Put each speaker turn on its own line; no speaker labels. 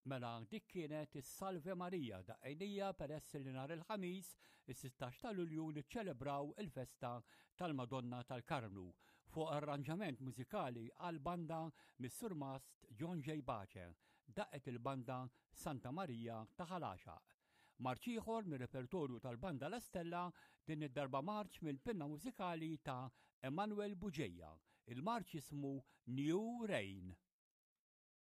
Mela dik kienet is-Salve Maria daqqejnija peress li nhar il-Ħamis, is-16 ta' Lulju niċċelebraw il-festa tal-Madonna tal-Karmnu fuq arranġament mużikali għal banda mis-Surmast John J. Bace daqqet il-banda Santa Marija ta' Ħal Għaxaq. Marċ ieħor mir-repertorju tal-Banda La Stella, din id-darba marċ mill-pinna mużikali ta' Emanuel Bugeja. Il-marċ jismu New Rain.